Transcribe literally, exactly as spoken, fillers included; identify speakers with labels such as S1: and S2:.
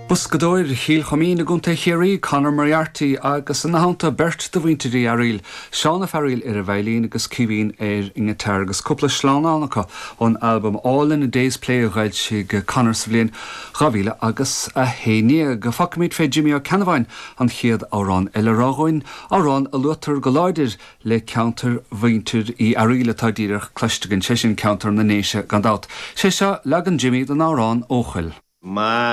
S1: Boscadóir Chill Choimín i gContae Chiarraí, Conor Moriarty agus ina theannta beirt de mhuintir Uí Fhearaíl, Seán Ó Fearaíl ar an veidhlín agus Caoimhín ar an ngiotár agus cúpla sleamhnán acu ón albam All in a Day's Play a d'fhoilsigh Conor sa bhliain dhá mhíle agus a haon déag. Fágfaimid fé Jimmy Ó Ceannabháin an chéad amhrán eile a rá dhúinn, amhrán a luaitear go láidir le ceantar mhuintir Uí Fhearaíl atá díreach cloiste againn, sé sin ceantar na nDéise gan dabht. Sé seo leagan Jimmy den amhrán Eochaill.
S2: Ma